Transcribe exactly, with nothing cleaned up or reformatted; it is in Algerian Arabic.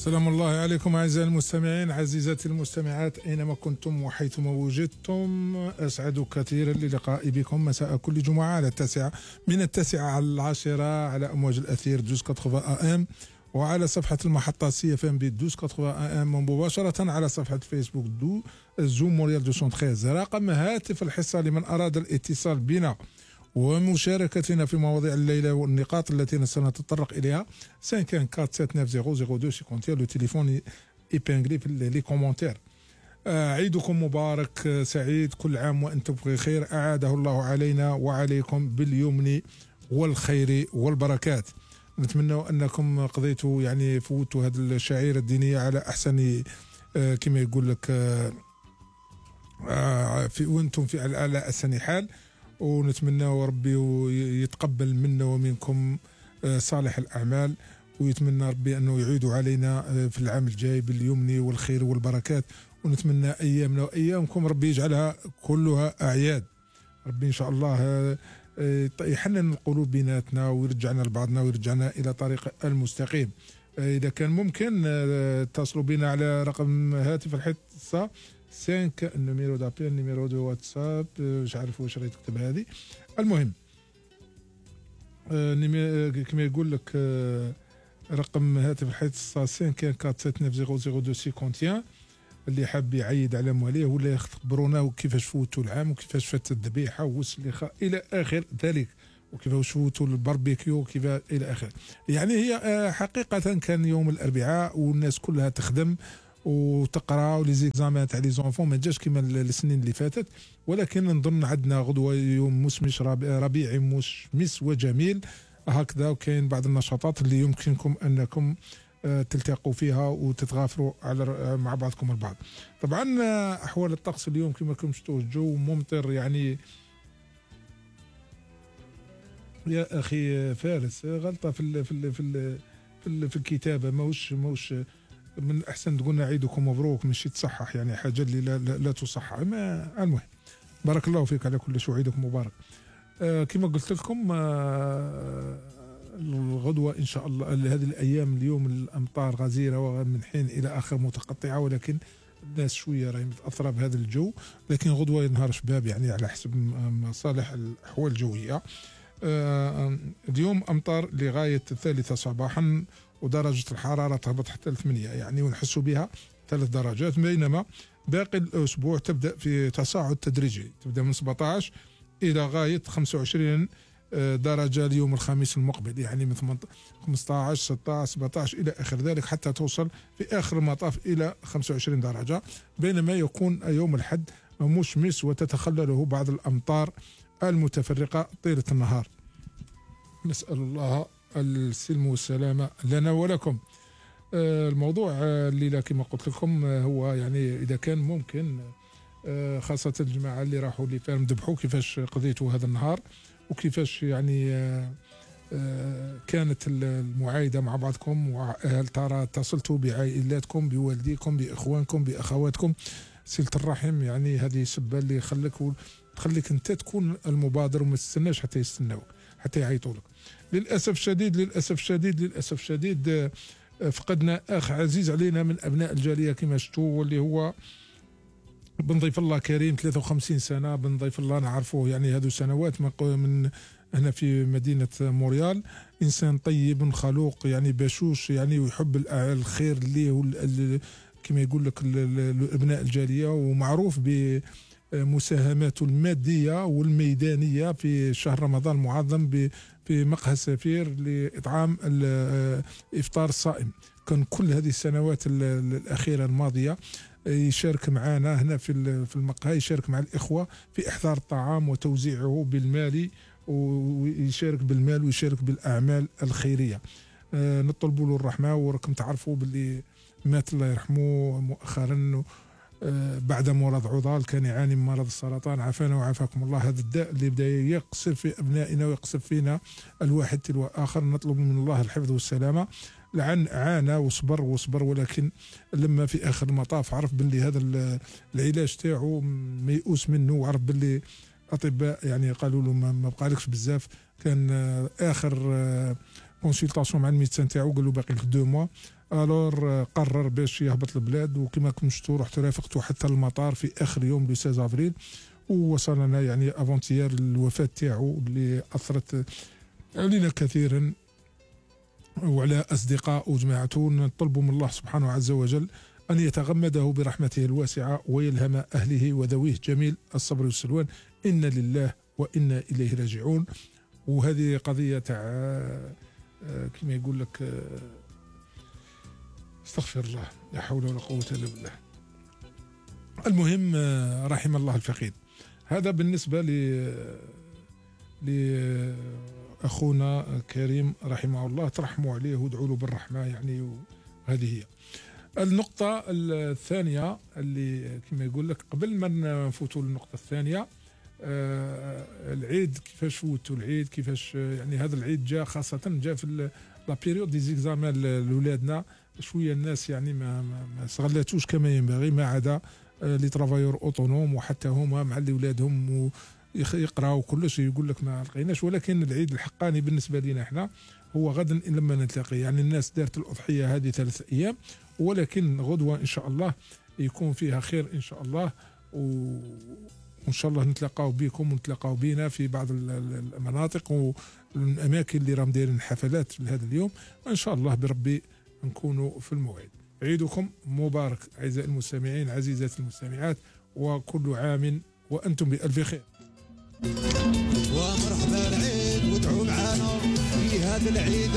سلام الله عليكم أعزائي المستمعين، عزيزاتي المستمعات أينما كنتم وحيثما وجدتم، أسعد كثيرا للقاء بكم مساء كل جمعة على التاسعة من التاسعة على العاشرة على أمواج الأثير دوز كاتروفا أ ام، وعلى صفحة المحطة سي اف ام بي دوز كاتروفا أ ام، مباشرة على صفحة فيسبوك دو زوم مونريال دوسون تخيز. رقم هاتف الحصة لمن أراد الاتصال بنا ومشاركتنا في مواضيع الليلة والنقاط التي سنتطرق إليها خمسة أربعة أربعة سبعة تسعة صفر صفر اثنين خمسة اثنين لو تليفون إيبانغلي في لي كومونتير. عيدكم مبارك سعيد، كل عام وأنتم بخير، أعاده الله علينا وعليكم باليمن والخير والبركات. نتمنى أنكم قضيتوا يعني فوتوا هذه الشعيرة الدينية على أحسن كما يقول لك في وأنتم في على أحسن حال، ونتمنى ربي يتقبل منا ومنكم صالح الأعمال، ويتمنى ربي أنه يعيد علينا في العام الجاي باليمن والخير والبركات، ونتمنى أيامنا وأيامكم ربي يجعلها كلها أعياد. ربي إن شاء الله يحنن القلوب بيناتنا ويرجعنا لبعضنا ويرجعنا إلى طريق المستقيم. إذا كان ممكن اتصلوا بنا على رقم هاتف الحصة خمسة النيميرو دابيل النيميرو دو واتساب، مش عارف واش راهي تكتب هذه. المهم كما يقول لك رقم هاتف الحصة خمسة أربعة أربعة سبعة تسعة صفر صفر اثنين خمسة واحد، اللي حاب يعيد على مواليه ولا يخبرونا كيفاش فوتوا العام وكيفاش فاتت الذبيحة والسليخة إلى آخر ذلك، وكيفاش فوتوا الباربيكيو كيف إلى آخر. يعني هي حقيقة كان يوم الأربعاء والناس كلها تخدم وتقرا ولي زيكزامان تاع لي زونفون ما جاش كيما السنين اللي فاتت، ولكن نظن عندنا غدوه يوم مشمش ربيعي مشمس وجميل هكذا، وكاين بعض النشاطات اللي يمكنكم انكم تلتقوا فيها وتتغافروا على مع بعضكم البعض. طبعا احوال الطقس اليوم كما راكم شفتوا الجو ممطر، يعني يا اخي فارس غلطه في ال في ال في ال في, ال في الكتابه، ماهوش ماهوش من الأحسن تقولنا عيدكم مبروك، مش تصحح يعني حاجة اللي لا, لا, لا تصحح. ما المهم بارك الله فيك على كل شيء، عيدكم مبارك. آه كما قلت لكم آه الغدوة إن شاء الله هذه الأيام اليوم الأمطار غزيرة ومن حين إلى آخر متقطعة، ولكن الناس شوية راهي متأثرة بهذا الجو، لكن غدوة نهار شباب يعني على حسب مصالح الأحوال الجوية. آه اليوم أمطار لغاية الثالثة صباحا، ودرجة الحرارة تهبط حتى لثمانية يعني ونحسوا بها ثلاث درجات، بينما باقي الأسبوع تبدأ في تصاعد تدريجي، تبدأ من سبعة عشر إلى غاية خمسة وعشرين درجة اليوم الخميس المقبل، يعني من خمسة عشر ستة عشر سبعة عشر إلى آخر ذلك، حتى توصل في آخر المطاف إلى خمسة وعشرين درجة، بينما يكون يوم الأحد مشمس وتتخلله بعض الأمطار المتفرقة طيلة النهار. نسأل الله السلم والسلامة لنا ولكم. الموضوع الليلة كما قلت لكم هو يعني إذا كان ممكن خاصة الجماعة اللي راحوا لفارم ذبحوا كيفاش قضيتوا هذا النهار، وكيفاش يعني كانت المعايدة مع بعضكم، وهل ترى اتصلتوا بعائلاتكم بوالديكم بإخوانكم بأخواتكم. صلة الرحم يعني هذه سبة اللي خليك تخليك أنت تكون المبادر وما تستناش حتى يستناوك حتى يعيطوا لك. للأسف الشديد للأسف الشديد للأسف الشديد فقدنا أخ عزيز علينا من أبناء الجالية كما شفتوا، واللي هو بن ضيف الله كريم ثلاثة وخمسين سنة. بن ضيف الله نعرفه يعني هذو سنوات من هنا في مدينة مونريال، إنسان طيب خلوق يعني بشوش يعني ويحب الخير اللي كما يقول لك أبناء الجالية، ومعروف ب مساهماته المادية والميدانية في شهر رمضان المعظم في مقهى سفير لإطعام الإفطار الصائم. كان كل هذه السنوات الأخيرة الماضية يشارك معنا هنا في في المقهى، يشارك مع الإخوة في إحضار الطعام وتوزيعه بالمال، ويشارك بالمال ويشارك بالأعمال الخيرية. نطلب له الرحمة، وراكم تعرفوا باللي مات الله يرحمه مؤخرا بعد مرض عضال، كان يعاني من مرض السرطان، عافانا وعافاكم الله. هذا الداء اللي بدا يقصف في أبنائنا ويقصف فينا الواحد تلو آخر، نطلب من الله الحفظ والسلامة. لعن عانى وصبر وصبر، ولكن لما في آخر المطاف عرف باللي هذا العلاج تاعو ميؤوس منه، وعرف باللي أطباء يعني قالوا له ما بقالكش بزاف، كان آخر كونسلطاسيون مع الميدسان تاعو، قال له باقي لك دو موا. الور قرر باش يهبط البلاد، وكما كنت شفتوا رحت رافقته حتى المطار في اخر يوم لو ستة افريل، ووصلنا يعني افونتيير الوفاه تاعو اللي اثرت علينا كثيرا وعلى اصدقاء وجماعته. نطلبوا من الله سبحانه عز وجل ان يتغمده برحمته الواسعه ويلهم اهله وذويه جميل الصبر والسلوان. انا لله وانا اليه راجعون. وهذه قضيه تاع كما يقول لك استغفر الله، لا حول ولا قوه الا بالله. المهم رحم الله الفقيد. هذا بالنسبه ل لاخونا كريم رحمه الله، ترحموا عليه وادعوا له بالرحمه يعني. وهذه هي النقطه الثانيه اللي كما يقول لك. قبل ما نفوتوا للنقطه الثانيه، آه العيد كيفاش فوتوا العيد، كيفاش يعني هذا العيد جاء خاصه جاء في لا بيريود دي زيكزامان لاولادنا. شويه الناس يعني ما ما استغلاتوش كما ينبغي، ما عدا لي ترافايور اوتونوم، وحتى هما مع اللي ولادهم يقراوا كلش يقول لك ما لقيناش. ولكن العيد الحقاني بالنسبه لنا احنا هو غدا ان لما نلتقي. يعني الناس دارت الاضحيه هذه ثلاث ايام، ولكن غدوه ان شاء الله يكون فيها خير ان شاء الله. و وان شاء الله نتلاقاو بكم ونتلاقاو بينا في بعض المناطق والاماكن اللي راهم دايرين حفلات في هذا اليوم، وان شاء الله بربي نكونوا في الموعد. عيدكم مبارك اعزائي المستمعين، عزيزاتي المستمعات، وكل عام وانتم بالف خير. ومرحبا العيد، وادعوا معانا في هذا العيد.